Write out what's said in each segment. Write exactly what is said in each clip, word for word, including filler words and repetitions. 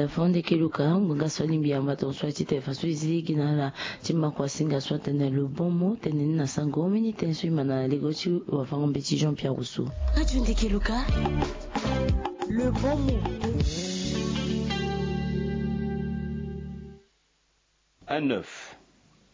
Fondeke Luka, ngonga so alingbi yamba tongaso ya ti tene faso e zi gi na ala ti maku asinga so atene le bon mot, tene ni na sango. Mbeni tene so e ma na lego ti wafango-mbeti Jean Pierre Rousseau. Radio Ndeke Luka, le bon mot. Un œuf.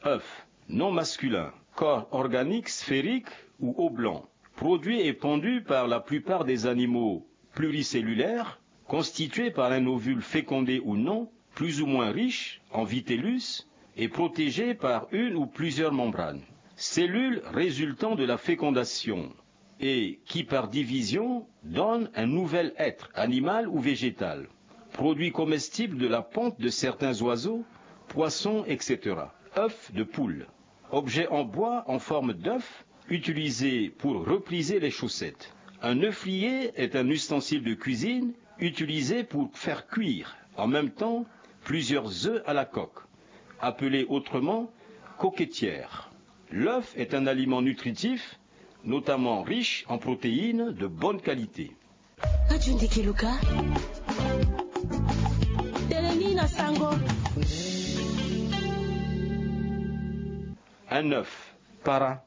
Œuf, nom masculin, corps organique sphérique ou oblong, produit épandu par la plupart des animaux pluricellulaires, constitué par un ovule fécondé ou non, plus ou moins riche en vitellus et protégé par une ou plusieurs membranes. Cellule résultant de la fécondation et qui, par division, donne un nouvel être, animal ou végétal. Produit comestible de la ponte de certains oiseaux, poissons, et cetera. Œuf de poule. Objet en bois en forme d'œuf utilisé pour replier les chaussettes. Un œufrier est un ustensile de cuisine utilisé pour faire cuire en même temps plusieurs œufs à la coque, appelé autrement coquetière. L'œuf est un aliment nutritif, notamment riche en protéines de bonne qualité. Radio Ndeke Luka, tene ni na sango. Un œuf, para.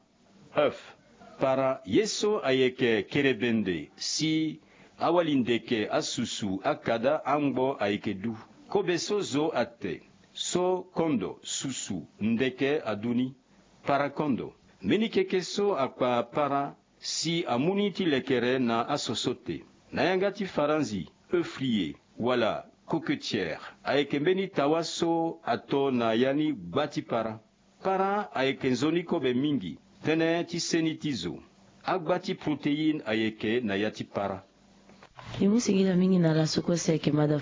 Œuf, para, ye so ayeke kerebende si awali ndeke asusu akada angbo ayeke du. Kobe so zo ate, so kondo susu ndeke adu ni, para kondo. Mbeni keke so akpa para si amu ni ti lekere na asoso te. Na yanga ti faranzi, œufrier wala coquetière ayeke mbeni tawa so ato na ya ni gba ti para. Para ayeke nzoni kobe mingi, tënë ti seni ti zo. Agba ti protéine ayeke na ya ti para. E mu singila mingi na ala so kue si ayeke mada